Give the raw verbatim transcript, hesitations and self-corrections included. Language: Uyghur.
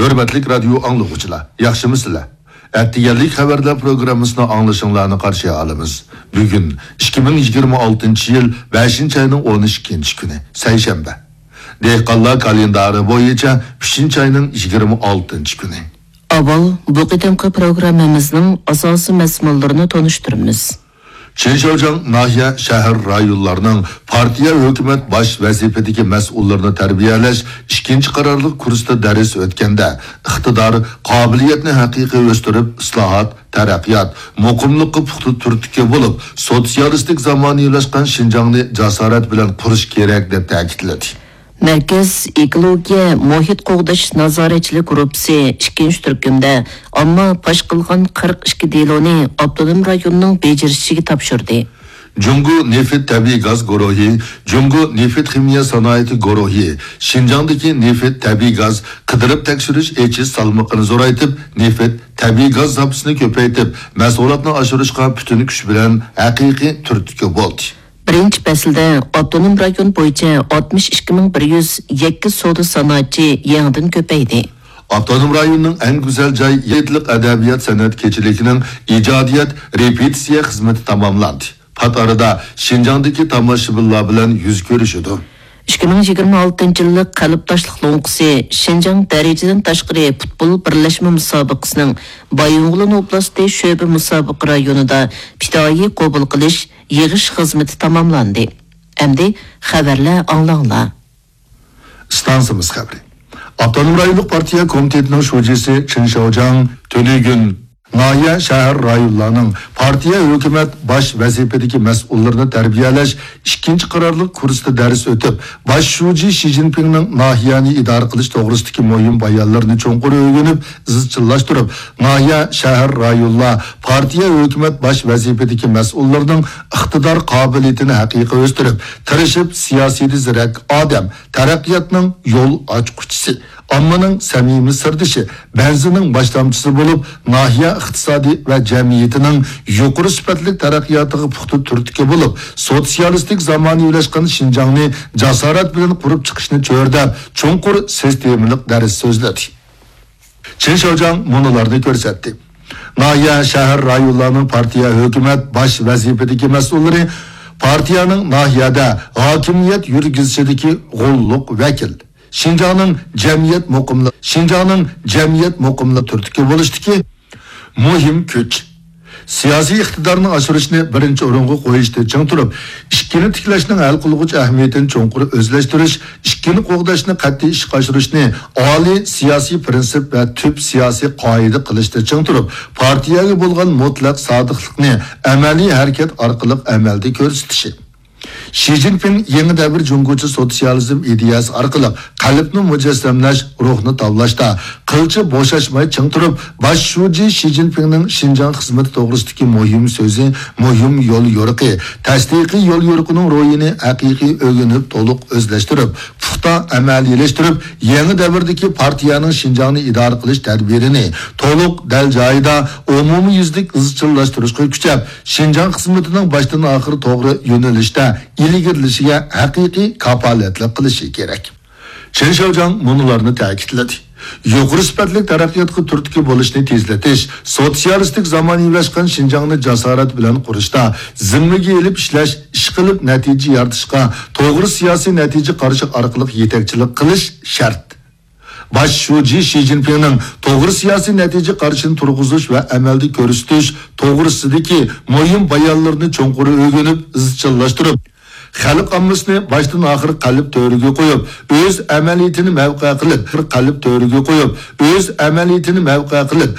ھۆرمەتلىك رادىيو ئاڭلىغۇچىلار، ياخشىمۇسىلەر؟ ئەتىگەنلىك خەۋەرلەر پروگراممىسىنىڭ ئاڭلىشىڭلارنى قارشى ئالىمىز. بۈگۈن ئىككى مىڭ يىگىرمە ئالتىنچى يىل بەشىنچى ئاينىڭ ئون ئىككىنچى كۈنى، سەيشەنبە. دېھقانلار كالېندارى بويىچە ئۈچىنچى ئاينىڭ يىگىرمە ئالتىنچى كۈنى. ئاۋۋال بۇ قېتىمقى پروگراممىمىزنىڭ ئاساسىي مەزمۇنلىرىنى تونۇشتۇرىمىز. چىن شياۋجياڭ ناھىيە، شەھەر، رايونلارنىڭ پارتىيە، ھۆكۈمەت باش ۋەزىپىدىكى مەسئۇللىرىنى تەربىيەلەش ئىككىنچى قارارلىق كۇرسىدا دەرس ئۆتكەندە، ئىقتىدار، قابىلىيەتنى ھەقىقىي ئۆستۈرۈپ، ئىسلاھات، تەرەققىيات، مۇقىملىققا پۇختا تۈرتكە بولۇپ، سوتسىيالىستىك زامانىۋىلاشقان شىنجاڭنى جاسارەت بىلەن قۇرۇش كېرەك، دەپ تەكىتلىدى. مەركەز ئېكولوگىيە مۇھىت قوغداش نازارەتچىلىك گۇرۇپپىسى ئىككىنچى تۈركۈمدە ئامما پاش قىلغان قىرىق ئىككى دېلونى ئاپتونوم رايوننىڭ بېجىرىشىگە تاپشۇردى. جۇڭگو نېفىت تەبىئىي گاز گۇرۇھى، جۇڭگو نېفىت خىمىيە سانائىتى گۇرۇھى شىنجاڭدىكى نېفىت تەبىئىي گاز قىدىرىپ تەكشۈرۈش ئېچىش سالمىقىنى زورايتىپ، نېفىت تەبىئىي گاز زاپىسىنى كۆپەيتىپ، مەھسۇلاتنى ئاشۇرۇشقا پۈتۈن كۈچ بىلەن ھەقىقىي تۈرتكە بولدى. بىرىنچى پەسىلدە ئاپتونوم رايون بويىچە ئاتمىش ئىككى مىڭ بىر يۈز يەككە سودا سانائەتچى يېڭىدىن كۆپەيدى. ئاپتونوم رايوننىڭ ئەڭ گۈزەل جاي يىگىتلىك ئەدەبىيات سەنئەت كېچىلىكىنىڭ ئىجادىيەت رېپېتىتسىيە خىزمىتى تاماملاندى. پات ئارىدا شىنجاڭدىكى تاماشىبىنلار بىلەن يۈز كۆرۈشىدۇ. ئىككى مىڭ يىگىرمە ئالتىنچى يىللىق قەلب تاشلىق لوڭقىسى شىنجاڭ دەرىجىدىن تاشقىرى پۇتبول بىرلەشمە مۇسابىقىسىنىڭ بايىنغولىن ئوبلاستى شۆبە مۇسابىقە رايونىدا پىدائىي قوبۇل قىلىش، يىغىش خىزمىتى تاماملاندى. ئەمدى خەۋەرلەر ئاڭلاڭلار. ئىستانسىمىز خەۋىرى. ئاپتونوم رايونلۇق پارتىيە كومىتېتىنىڭ شۇجىسى چېن شياۋجياڭ تۈنۈگۈن ناھىيە، شەھەر، رايونلارنىڭ پارتىيە، ھۆكۈمەت باش ۋەزىپىدىكى مەسئۇللىرىنى تەربىيەلەش ئىككىنچى قارارلىق كۇرسىدا دەرس ئۆتۈپ، باش شۇجى شى جىنپىڭنىڭ ناھىيەنى ئىدارە قىلىش توغرىسىدىكى مۇھىم بايانلىرىنى چوڭقۇر ئۆگىنىپ، ئىزچىللاشتۇرۇپ، ناھىيە، شەھەر، رايونلار، پارتىيە، ھۆكۈمەت باش ۋەزىپىدىكى مەسئۇللىرىنىڭ ئىقتىدار قابىلىيىتىنى ھەقىقىي ئۆستۈرۈپ، تىرىشىپ، سىياسىيدە زېرەك ئادەم، تەرەققىياتنىڭ يول ئاچقۇچىسى، ئاممىنىڭ سەمىمىي سىردىشى، بەنزىنىڭ باشلامچىسى بولۇپ، ناھىيە ئىقتىسادى ۋە جەمئىيىتىنىڭ يۇقىرى سۈپەتلىك تەرەققىياتىغا پۇختا تۈرتكە بولۇپ، سوتسىيالىستىك زامانىۋىلاشقان شىنجاڭنى جاسارەت بىلەن قۇرۇپ چىقىشنى چۆرىدەپ، چوڭقۇر سىستېمىلىق دەرس سۆزلىدى. چېن شياۋجياڭ مۇنۇلارنى كۆرسەتتى. ناھىيە، شەھەر، رايونلارنىڭ پارتىيە، ھۆكۈمەت باش ۋەزىپىدىكى مەسئۇللىرى پارتىيەنىڭ ناھىيەدە ھاكىمىيەت يۈرگۈزۈشىدىكى غوللۇق ۋەكىل، شىنجاڭنىڭ جەمئىيەت مۇقىملىق، شىنجاڭنىڭ جەمئىيەت مۇقىملىق تۈرتكە بولۇشتىكى مۇھىم كۈچ. سىياسىي ئىقتىدارنى ئاشۇرۇشنى بىرىنچى ئورۇنغا قويۇشتا چىڭ تۇرۇپ، ئىككىنى تىكلەشنىڭ ھەل قىلغۇچ ئەھمىيىتىنى چوڭقۇر ئۆزلەشتۈرۈش، ئىككىنى قوغداشنى قەتئىي ئىشقا ئاشۇرۇشنى ئالىي سىياسىي پىرىنسىپ ۋە تۈپ سىياسىي قائىدە قىلىشتا چىڭ تۇرۇپ، پارتىيەگە بولغان مۇتلەق سادىقلىقنى ئەمەلىي ھەرىكەت ئارقىلىق ئەمەلدە كۆرسىتىشى. شى جىنپىڭ يېڭى دەۋر جۇڭگوچە سوتسىيالىزم ئىدىيەسى ئارقىلىق قەلبنى مۇجەسسەملەش، روھنى تاۋلاشتا قىلچە بوشاشماي چىڭ تۇرۇپ، باش شۇجى شى جىنپىڭنىڭ شىنجاڭ خىزمىتى توغرىسىدىكى مۇھىم سۆزى، مۇھىم يول يورۇقى، تەستىقىي يول يورۇقىنىڭ روھىنى ھەقىقىي ئۆگىنىپ، تولۇق ئۆزلەشتۈرۈپ، پۇختا ئەمەلىيلەشتۈرۈپ، يېڭى دەۋردىكى پارتىيەنىڭ شىنجاڭنى ئىدارە قىلىش تەدبىرىنى تولۇق، دەل جايىدا، ئومۇميۈزلۈك ئىزچىللاشتۇرۇشقا كۈچەپ، شىنجاڭ خىزمىتىنىڭ باشتىن ئاخىر توغرا يۆنىلىشتە ئىلگىرىلىشىگە ھەقىقىي كاپالەتلىك قىلىشى كېرەك. چېن شياۋجياڭ مۇنۇلارنى تەكىتلىدى. يۇقىرى سۈپەتلىك تەرەققىياتقا تۈرتكە بولۇشنى تېزلىتىش، سوتسىيالىستىك زامانىۋىلاشقان شىنجاڭنى جاسارەت بىلەن قۇرۇشتا زىممىگە ئېلىپ ئىشلەش، ئىشقىلىپ نەتىجە يارىتىشقا توغرا سىياسىي نەتىجە قارىشى ئارقىلىق يېتەكچىلىك قىلىش شەرت. باش شۇجى شى جىنپىڭنىڭ توغرا سىياسىي نەتىجە قارىشىنى تۇرغۇزۇش ۋە ئەمەلدە كۆرسىتىش توغرىسىدىكى مۇھىم بايانلىرىنى چوڭقۇر ئۆگىنىپ، ئىزچىللاشتۇرۇپ، خەلق ئاممىسىنى باشتىن ئاخىر قەلب تۆرىگە قويۇپ، ئۆز ئەمەلىيىتىنى مەۋقە قىلىپ، قەلب تۆرىگە قويۇپ، ئۆز ئەمەلىيىتىنى مەۋقە قىلىپ،